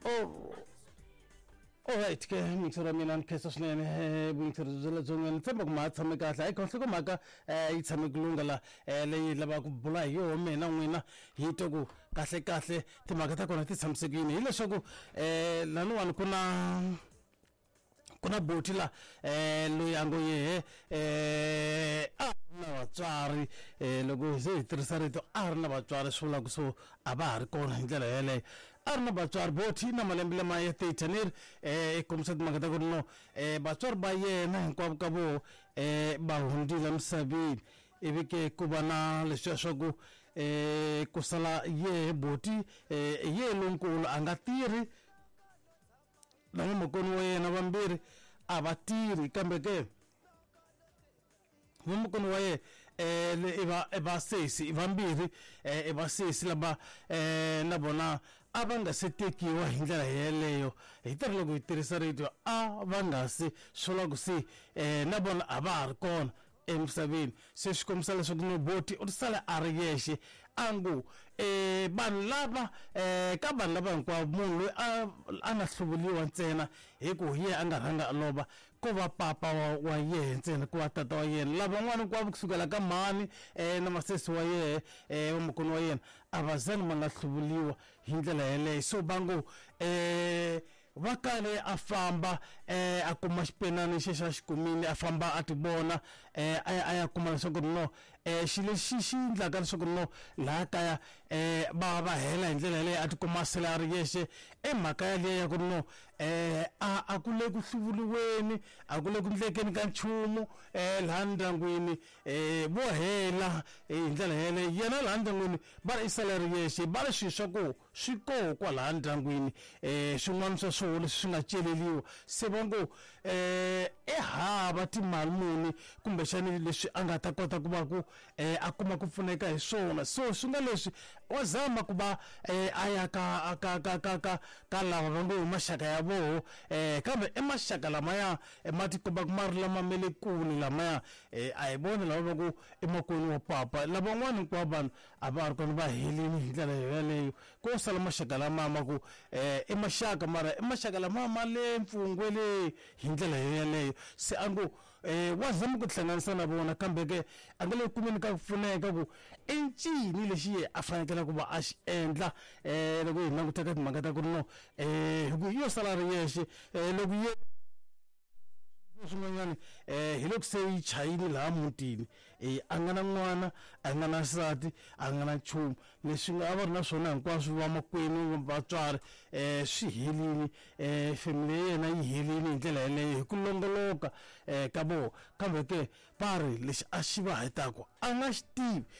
Oh, alright ke mixer wa mina ni khensa swinene vuyingiseri bya le dzongeni ni tshemba ku ma tshame kahle hayi khonhloko mhaka yi tshame ku lungha la leyi lavaka ku bula hi yoho mina n'wina hi twa ku kahle kahle timhaka ta kona ti tshamisekile hileswaku laniwani ku na ku na boti la loyi a ngo yehe a ri na vatswari loko se hi tirhisa rito a ri na vatswari swi vula ku so a va ha ri kona hi ndlela yeleyo a ri na vatswari boti na malembe lama ya 30 ni ri i kombisa timhaka ta ku ri no vatswari va yena hinkwavo ka voho va hundzile emisaveni ivi ke ku va na leswiya swa ku ku sala yehe boti hi yehe lonkulu a nga tirhi na vamakweni wa yena vambirhi a va tirhi kambe ke vamakweni wa yena i va i vasesi i vambirhi i vasesi lava na vona a va nga se tekiwa hi ndlela yeleyo hi tirhi loko hi tirhisa radio a va nga se swi vula ku se na vona a va ha ri kona emisaveni se swi kombisa leswaku noboti u sale a ri yexe a ngo vanhu lava ka vanhu lava hinkwavo munhu loyi a a nga hluvuriwa ntsena hi ku hi yena a nga rhanga a lova ko va papa wa yehe ntsena ku va tata wa yena lavan'wana hinkwavo kusukela ka mhani na masesi wa yehe vamakweni wa yena a va zani va nga hluvuriwa hi ndlela yeleyo so va ngo va kale a famba a kuma xipenani xexi a xi kumile a famba a ti vona a ya a ya kuma leswaku no xilo lexi xi endlaka leswaku no laha kaya va va hela hi ndlela yaleyo a tikuma a sele a ri yexe i mhaka yaliya ya ku ri no a a ku le ku hluvuriweni a ku le ku ndlekeni ka nchumu laha ndyangwini vo hela hi ndlela yeleyo yena laha ndyangwini va ri i sale a ri yexe va ri swilo swa ku swi koho kwalaha ndyangwini swin'wana swa swona leswi swi nga celeriwa se va ngo i hava timali muni kumbexani leswi a nga ta kota ku va ku a kuma ku pfuneka hi swona so swi nga leswi wa zama ku va a ya ka ka ka ka ka ka lava va ngo i maxaka ya voho kambe i maxaka lamaya ma tikombaka ma ri lama ma le kule lamaya a hi vona lava va ku i makwenu wa papa lavan'wana hinkwavo vanhu a va ri kona va helini hi ndlela yoyaleyo ko sala maxaka lama ma ku i maxaka mara i maxaka lama ma le mpfungwe le hi ndlela yoyaleyo se a ngo wa zama ku tihlanganisa na vona kambe ke a nga le kumeni ka ku pfuneka ku i ncini lexi ye a fanekele ku va a xi endla loko hi languta ka timhaka ta ku ri no hi ku yo sala ri yexe loko ye swin'wanyana hi loko se yi chayile laha mutini a nga na n'wana a nga na nsati a nga na nchumu leswi nga a va ri na swona hinkwaswo vamakwenu vatswari swi helini family ya yena yi helini hi ndlela yeleyo hi ku longoloka ka vona kambe ke va ri lexi a xi va hetaku a nga xi tivi.